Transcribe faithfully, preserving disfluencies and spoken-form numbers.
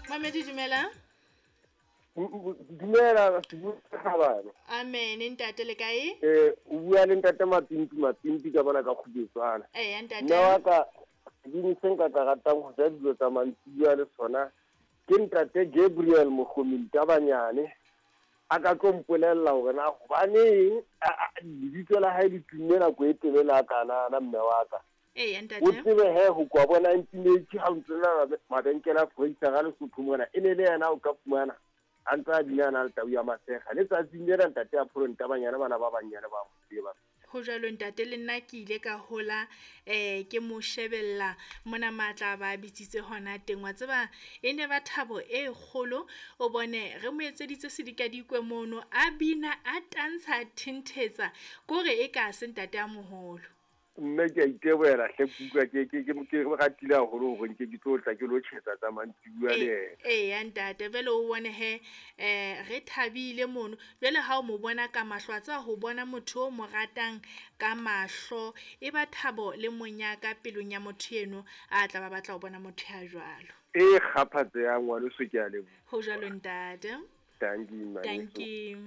Mamedi, dumela. Dumela, Sebuthabane. Amen, ntate, le kae? Eh, o bua le ntate Mapimpi, Mapimpi ka bona ka Kgubetswana. Eya, ntate. Mme wa ka, sebini se nka ka ratang ho ja dijo tsa mantsibuya le sona ke ntate Gabriel Mogomi Ntabanyane. A ka tlo mpolella hore na hobaneng lebitso la hae le tumme nako e telele a kanana, mme wa ka. Eya, ntate. O tsebe he ho kwa bo nineteen eighty ha o ntse na mabenkele a Foreistara Lesotho mona, e ne le yena o ka fumana a ntse a bina a na le tau ya Masega. Letsatsing lena ntate a Pholo Ntabanyane, bana ba banyane ba mo tseba. Ho jwalo ntate, le nna ke ile ka hola, eh, ke mo shebella mona matla ba bitsitse hona teng. Wa tseba e ne ba thabo e kgolo, o bone re mo etseditse sedikadikwe mono, a bina, a tantsha, a thinthetsa, kore e ka se ntate a moholo. Mme ke a itebohela hle, ke utlwa ke, ke, ke, ke ratile haholo hore nke ke tlo tla ke lo tjhetsa tsa mantsibuya le yena. Eya ntate, jwale o bone he, eh, re thabile mono. Jwale ha o mo bona ka mahlo, a tseba ho bona motho o mo ratang ka mahlo, e ba thabo le monyaka pelong ya motho eno a tla ba batla ho bona motho ya jwalo. E kgaphatse ya ngwaneso, ke a leboha. Ho jwalo ntate. Dankie, ngwaneso. Dankie.